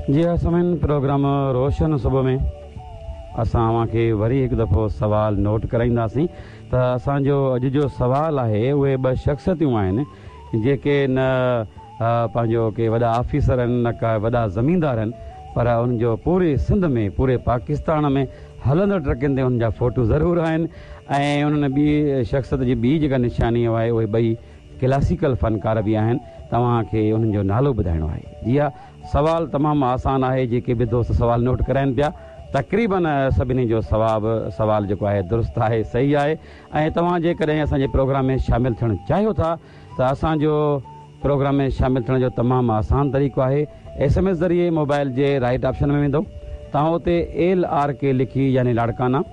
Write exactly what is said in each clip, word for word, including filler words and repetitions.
جي ها سامعين، پروگرام روشن صبح ۾ اسان اوهان کي وري هڪ دفعو سوال نوٽ ڪرائينداسين ته اسان جو اڄ جو سوال آهي، اهي ٻه شخصيتون آهن جيڪي نه پنهنجو ڪي وڏا آفيسر آهن نه ڪا وڏا زميندار آهن، پر انهن جو پوري سنڌ ۾ پوري پاڪستان ۾ هلندڙ ٽرڪن تي انهن جا فوٽو ضرور آهن. ۽ انهن ٻي شخصيت جي ٻي جيڪا نشاني آهي، اهي ٻئي ڪلاسيڪل فنڪار به آهن. توهان کي انهن جو نالو ٻڌائڻو آهي. جي ها، سوال تمام آسان آهي. جيڪي به دوست سوال نوٽ ڪرائن پيا، تقريبن سڀني جو سواب سوال جيڪو آهي درست آهي، صحيح آهي. ۽ توهان جيڪڏهن اسان جي پروگرام ۾ شامل ٿيڻ چاهيو ٿا ته اسان جو پروگرام ۾ شامل ٿيڻ جو تمام آسان طريقو آهي. ايس ايم ايس ذريعي موبائل جي رائٽ آپشن ۾ ويندو توهان، اتي ايل آر ڪي لکي، يعني لاڙڪانا،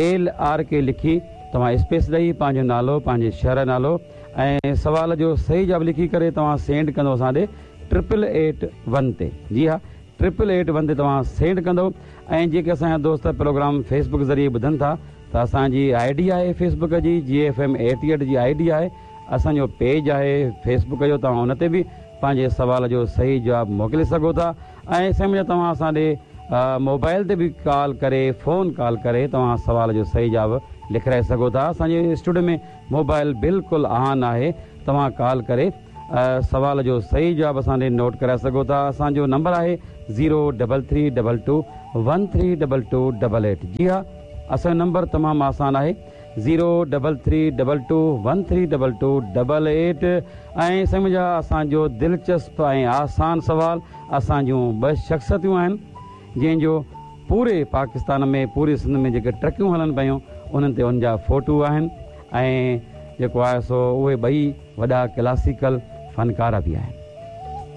ايل آر ڪي لکي توهان اسپيس ڏئي پنهنجو نالو، پنهنجي شهر جو نالو ۽ سوال جو صحيح جواب لکي ڪري توهان سينڊ ڪندو اسان ڏي ٽرپل ايٽ ون تي. جي ها، ٽرپل ايٽ ون تي توهان سينڊ ڪندو. ۽ جيڪي اسان جا دوست پروگرام فيسبڪ ذريعي ٻڌن ٿا ته اسان جي I D آهي فيسبڪ جي، جي ايف ايم ايٽي ايٽ جي I D آهي، اسان جو پيج آهي فيسبڪ جو، توهان ان تي به پنهنجي سوال جو صحيح جواب موڪلي سگهو ٿا. ۽ سمجهه توهان اسان ڏي موبائل تي به ڪال ڪري، فون ڪال ڪري توهان سوال جو صحيح جواب لکرائي سگهو ٿا. اسان جي اسٽوڊيو ۾ موبائل بلڪل آن آهي، توهان ڪال ڪري سوال جو صحيح جواب اسان ڏي نوٽ ڪرائي سگهو ٿا. اسان جو نمبر آهي zero double three double two one three double two double eight. جي ها، اسان جو نمبر تمام آسان آهي، zero double three double two one three double two double eight. ۽ سمجها اسان جو دلچسپ ۽ آسان سوال، اسان جون ٻه شخصيتون آهن جنهن جو پوري پاڪستان ۾ پوري سنڌ ۾ جيڪي ٽرڪيون هلن پيون انهن تي ان جا فوٽو آهن، ۽ جيڪو آهي سو اهي ٻئي وڏا ڪلاسيڪل فنڪار به آهن.